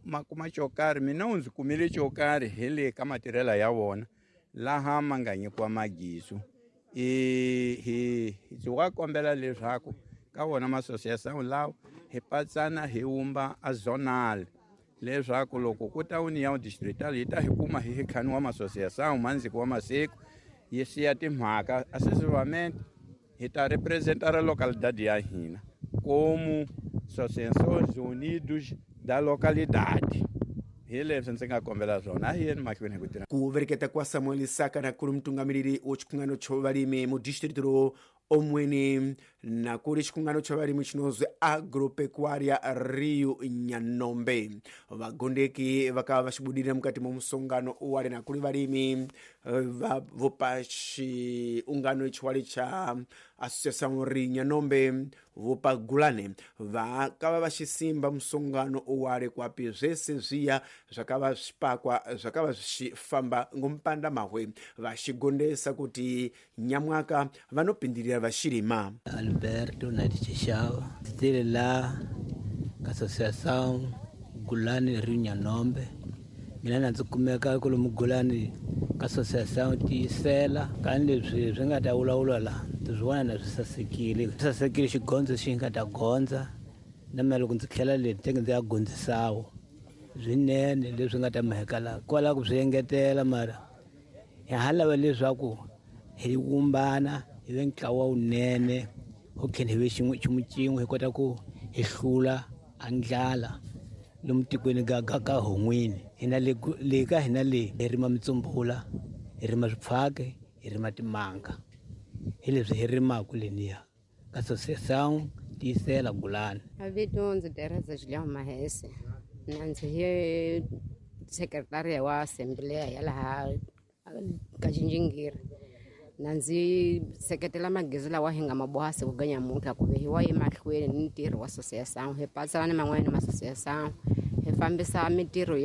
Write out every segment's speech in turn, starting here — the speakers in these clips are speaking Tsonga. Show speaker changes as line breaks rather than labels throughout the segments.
Ma kuma xo karhi, mina u ndzi kumile xo karhi hi le ka matirhelo ya vona laha ma nga nyikiwa magisu. Hi ndzi wa kombela leswaku ka wona masosiyasão lawa hi patsana hi wumba a zonal, leswaku loko ku ta união distrital yi ta hi kuma hi ntlhanu wa masosiyasão mandziki wa masiku yi siya timhaka sucessivamente hi ta representar a localidade ya hina como Associações Unidos da Localidade. Hi leswi ndzi nga kombela swona, a hi yeni mahlweni hi ku tirha.
Kuvereketa kwa Samuel Saka kuli mutungamiriri wa chikungano cho valimi mu distrito ro Omweni, na kuli chikungano cha valimi chinozwi Agropecuaria Rio Nyanombe. Vagondeki vakava vachibudirira mukati mwa musongano uwale na kuli valimi vopa chiungano ichiwale cha Associação Rio Nyanombe vopagulane vakava vachisimba musongano uwale kwapi zvese zviya zvakava zvipakwa zvakava zvichifamba ngomupanda mahwe, vachigondesa kuti nyamwaka vanopindirira vachirima.
Alberto Nadichishava, ndzi la Associação Gulani Rio Nyanombe. Mina na ndzi kumeka kwalomu Gulani ka Associação Tiyisela. Ka leswi swi nga ta vulavula la, ndzi swi vona na swi sasekile. Swi sasekile xigondzo xi nga ta gondza, na mina loko ndzi tlhela le tenge ndzi ya gondzisawo. Swinene leswi nga ta mheka la, kwala ku swi engetela mara hi ha lava leswaku hi vumbana, hi ve ntlawa wunene, ho tlhela hi ve xin'we xin'we, hi kota ku hi hlula a ndlala lomu tikweni ga ga ka hon'wini. Hina le le ka hina le hi rima mitsumbula, hi rima swipfhake, hi rima timanga, hi leswi hi rimaka leniya ka Associação Tiyisela Gulani.
Vito ndzi Teresa Julião Mahese, na ndzi hi sekretariya wa assembleya ya laha ka Xinjingiri. Na ndzi seketela magezi lawa hi nga ma boha siku ga nyamuntlha ku ve hi wa emahlweni ni ntirho wa associação, hi patsana ni man'wanyana ma associação, hi fambisa mintirho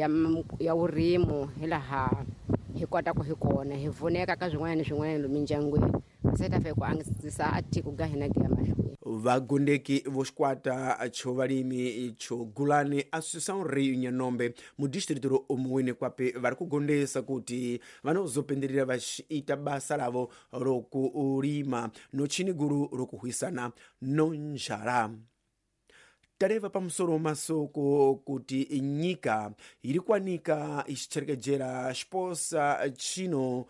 ya vurimo hi laha hi kotaka hi kona, hi pfuneka ka swin'wana ni swin'wana lomu mindyangwini, se ta fika ku antswisa a tiko ga hina gi ya mahlweni.
Vagondeki vo xikwata cho valimi cho Gulani Associação Rio Nyanombe mu distrito ro Omuwini kwape vari kugondesa kuti vanozopindirira vachiita basa ravo rokulima no chini guru rokuhwisana no njala. Tareva pamusoro masoko kuti nyika iri kwanika ichicherekedzera xiposa chino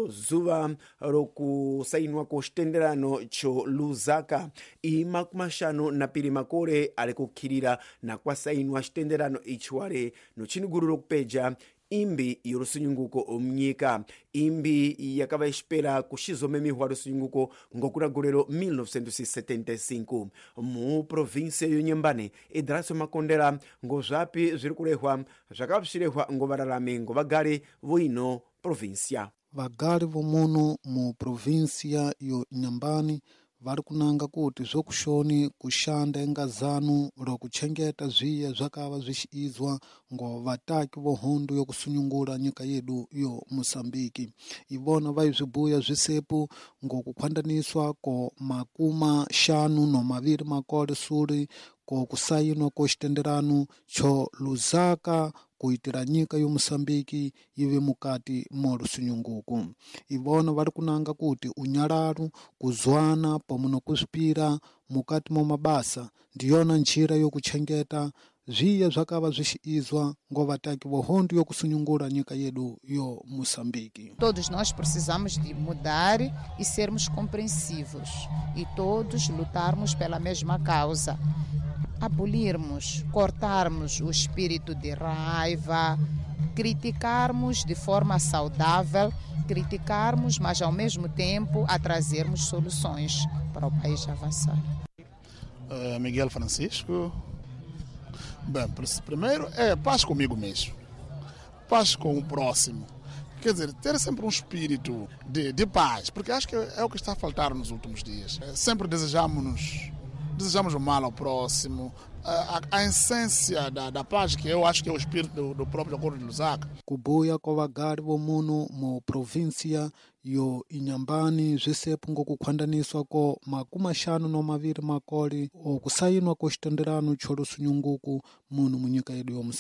zuva rokusainwa ko xitenderano cho Lusaka i 52 makore ari kukhirira na kwasainwa xitenderano ichiwale no chiniguru rokupeja imbi yorusunyunguko mnyika, imbi yakava ixipera kuxizomemihwa rusunyunguko ngokura gore 1975 mu província yo Nyembane. Idraso Makondela, ngozvapi zviri kurehwa zvakava zvichirehwa ngovararami ngovagari voino província?
Vagari vomuno mu província yo Nyambani vari kunanga kuti zvokushoni kushanda inga zanu rokuchengeta zviya zvakava zvichiizwa ngo vataki vo hondo yokusunyungula nyika yedu yo Moçambique. Ivona vaizvibuya zvisepu ngo kukhwandaniswa ko 52 makore suri ko kusainwa ko xitenderano cho Lusaka kuitira nyika yo Moçambique ive mukati mo lusunyunguko. Ivona vari kunanga kuti unyalalu, kuzwana pamwe nokuzvipira mukati mo mabasa ndiyona njira yokuchengeta zviya zvakava zvichiizwa ngo vataki vo hondo yokusunyungula nyika yedu yo Moçambique.
Todos nós precisamos de mudar e sermos compreensivos e todos lutarmos pela mesma causa. Abolirmos, cortarmos o espírito de raiva, criticarmos de forma saudável, criticarmos, mas ao mesmo tempo a trazermos soluções para o país avançar.
Miguel Francisco. Bem, primeiro é paz comigo mesmo, paz com o próximo. Quer dizer, ter sempre um espírito de paz, porque acho que é o que está a faltar nos últimos dias. Sempre desejamos o mal ao próximo, a essência da paz, que eu acho que é o espírito do próprio Acordo de Lusaka.
Kubuya kwa vagari vomuno mu província yo Inhambane zvisepo ngokukhwandaniswa ko 52 makore okusainwa ko xitenderano cho lusunyunguko muno mu nyika yedu yo Moçambique.